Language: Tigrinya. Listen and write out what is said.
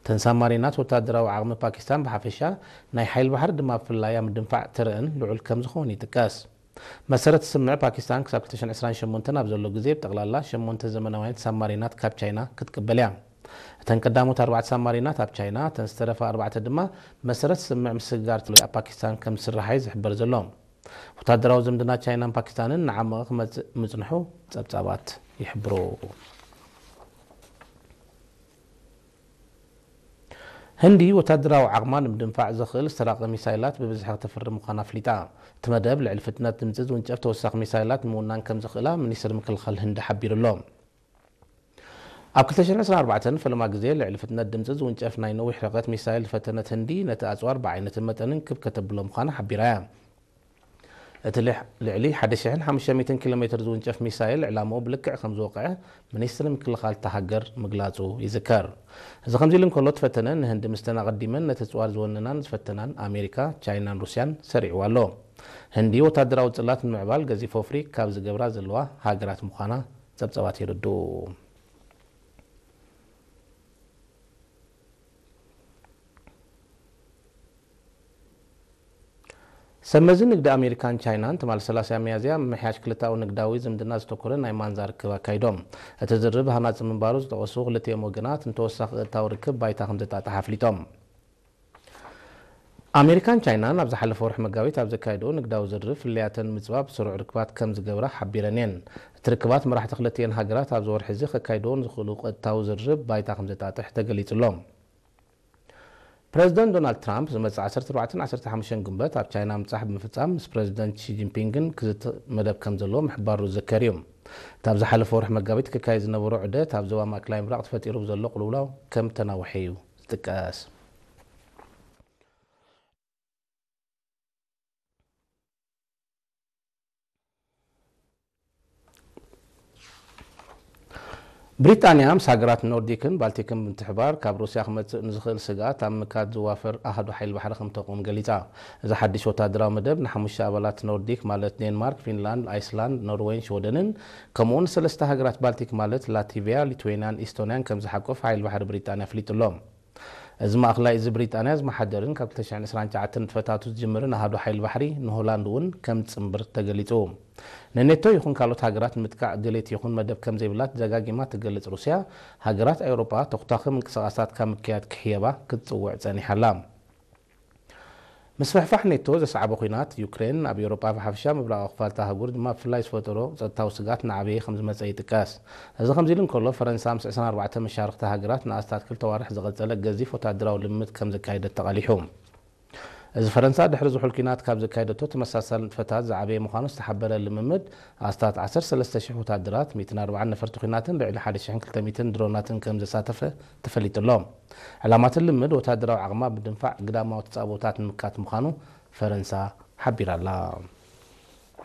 እተን ሳማሪናት ወታደራዊ ዓቕሚ ፓኪስታን ብሓፈሻ፣ ናይ ሓይል ባሕሪ ድማ ብፍላይ ኣብ ምድንፋዕ ተረአን ልዑል ከም ዝኾን ይጥቀስ። መሰረት ስምዕ ፓኪስታን ክሳብ ክልተ ሽሕን ዕስራን ሸሞንተን ኣብ ዘሎ ግዜ ብጠቕላላ ሸሞንተ ዘመናውያን ሳማሪናት ካብ ቻይና ክትቅበል እያ። እተን ቀዳሞት ኣርባዕተ ሳማሪናት ኣብ ቻይና፣ እተን ዝተረፋ ኣርባዕተ ድማ መሰረት ስምዕ ምስግጋር ቴክኖሎጂ ኣብ ፓኪስታን ከም ዝስራሓይ ዝሕበር ዘሎ። ወታደራዊ ዝምድና ቻይናን ፓኪስታንን ንዓመቐ ክመጽእ ምጽንሑ ጸብጻባት ይሕብሩ። ህንዲ ወታደራዊ ዓቕማ ንምድንፋዕ ዘኽእል ዝተራቐ ሚሳይላት ብብዝሒ ክተፍሪ ምዃና ኣፍሊጣ። እቲ መደብ ልዕሊ ፍጥነት ድምጺ ዝውንጨፍ ተወሳኺ ሚሳይላት ንምውናን ከም ዝኽእላ ሚኒስትሪ ምክልኻል ህንዲ ሓቢሩ ኣሎ። ኣብ ክልተ ሽሕን ዕስራን ኣርባዕተን ፈለማ ግዜ ልዕሊ ፍጥነት ድምጺ ዝውንጨፍ ናይ ነዊሕ ርሕቀት ሚሳይል ዝፈተነት ህንዲ፣ ነቲ ኣጽዋር ብዓይነትን መጠንን ክብ ከተብሎ ምዃና ሓቢራ እያ። እቲ ልሕ-፣ ልዕሊ ሓደ ሽሕን ሓሙሽተ ሚእትን ኪሎ ሜትር ዝውንጨፍ ሚሳይል ዕላምኡ ብልክዕ ከም ዝወቕዐ ሚኒስትሪ ምክልኻል እታ ሃገር ምግላጹ ይዝከር። እዚ ከምዚ ኢሉ እንከሎ፣ እቲ ፈተነ ንህንዲ ምስተን ኣቐዲመን ነቲ ኣጽዋር ዝወነናን ዝፈተናን ኣሜሪካ፣ ቻይናን ሩስያን ሰሪዕዋ ኣሎ። ህንዲ ወታደራዊ ጽላት ንምዕባል ገዚፍ ወፍሪ ካብ ዝገብራ ዘለዋ ሃገራት ምዃና ጸብጻባት የረድኡ። ሰመዚ ንግዲ ኣሜሪካን ቻይናን ትማሊ ሰላሳ ሚያዝያ ምምሕያሽ ክልተኣዊ ንግዳዊ ዝምድና ዘተኮረ ናይ ማንዛ ርክብ ኣካይዶም። እቲ ዝርርብ ሃናጺ ምንባሩ ዝጠቐሱ ክልቲኦም ወገናት፣ ንተወሳኺ ቀጥታዊ ርክብ ባይታ ከም ዘጣጥሕ ኣፍሊጦም። ኣሜሪካን ቻይናን ኣብ ዝሓለፈ ወርሒ መጋቢት ኣብ ዘካየድኦ ንግዳዊ ዝርርብ፣ ፍልልያተን ንምጽባብ ስሩዕ ርክባት ከም ዝገብራ ሓቢረን እየን። እቲ ርክባት መራሕቲ ክልቲኤን ሃገራት ኣብዚ ወርሒ እዚ ከካይድዎ ንዝኽእሉ ቀጥታዊ ዝርርብ ባይታ ከም ዘጣጥሕ ተገሊጹ ኣሎ። ፕረዚደንት ዶናልድ ትራምፕ ዝመጽእ ዓሰርተ ኣርባዕተን ዓሰርተ ሓሙሽተን ግንቦት ኣብ ቻይና ምብጻሕ ብምፍጻም ምስ ፕረዚደንት ሺ ጂንፒንግን ክዝቲ መደብ ከም ዘለዎ ምሕባሩ ዝዝከር እዩ። እታ ኣብ ዝሓለፈ ወርሒ መጋቢት ክካየድ ዝነበሮ ዑደት ኣብ ዞባ ማእከላይ ምብራቕ ተፈጢሩ ብዘሎ ቅልውላው ከም ተናውሐ እዩ ዝጥቀስ። ብሪጣንያ ምስ ሃገራት ኖርዲክን ባልቲክን ብምትሕባር ካብ ሩስያ ክመጽእ ንዝኽእል ስግኣት ኣብ ምካድ ዝዋፈር ኣሃዱ ሓይሊ ባሕሪ ከም ተቑም ገሊጻ። እዚ ሓድሽ ወታደራዊ መደብ ንሓሙሽተ ኣባላት ኖርዲክ ማለት ዴንማርክ፣ ፊንላንድ፣ ኣይስላንድ፣ ኖርዌይን ሽወደንን ከምኡውን ሰለስተ ሃገራት ባልቲክ ማለት ላቲቪያ፣ ሊትዌንያን ኢስቶንያን ከም ዝሓቁፍ ሓይሊ ባሕሪ ብሪጣንያ ኣፍሊጡ ኣሎ። እዚ ማእኸላይ እዚ ብሪጣንያ ዝመሓደርን ካብ ክልተ ሽሕን ዕስራን ትሽዓተን ንጥፈታቱ ዝጅምርን ኣሃዱ ሓይሊ ባሕሪ ንሆላንድ እውን ከም ዝጽንብር ተገሊጹ። ንኔቶ ይኹን ካልኦት ሃገራት ንምጥቃዕ ድሌት ይኹን መደብ ከም ዘይብላ ደጋጊማ ትገልጽ ሩስያ፣ ሃገራት ኤውሮጳ ተኹታኺ ምንቅስቓሳት ካብ ምክያድ ክሕየባ ክትጽውዕ ጸኒሓ ኣላ። ምስፍሕፋሕ ኔቶ ዘስዓቦ ኲናት፣ ዩክሬን ኣብ ኤውሮጳ ብሓፈሻ ምብራቓዊ ክፋል እታ ኣህጉር ድማ ብፍላይ ዝፈጠሮ ጸጥታዊ ስግኣት እናዓበየ ከም ዝመጸ ይጥቀስ። እዚ ከምዚ ኢሉ እንከሎ፣ ፈረንሳ ምስ ዕስራን ኣርባዕተን መሻርኽቲ ሃገራት ንኣስታት ክልተ ኣዋርሕ ዝቐጸለ ገዚፍ ወታደራዊ ልምምድ ከም ዘካየደት ተቓሊሑ። እዚ ፈረንሳ ድሕሪ ዝሑል ኲናት ካብ ዘካየደቶ ተመሳሳሊ ንጥፈታት ዝዓበየ ምዃኑ ዝተሓበረ ልምምድ፣ ኣስታት ዓሰርተ ሰለስተ ሽሕ ወታደራት፣ ሚእትን ኣርባዓን ነፈርቲ ኲናትን ልዕሊ ሓደ ሽሕን ክልተ ሚእትን ድሮናትን ከም ዘሳተፈ ተፈሊጡ ኣሎ። ዕላማ እቲ ልምምድ ወታደራዊ ዓቕማ ብምድንፋዕ ግዳማዊ ተጻብኦታት ንምክያድ ምዃኑ ፈረንሳ ሓቢራ ኣላ።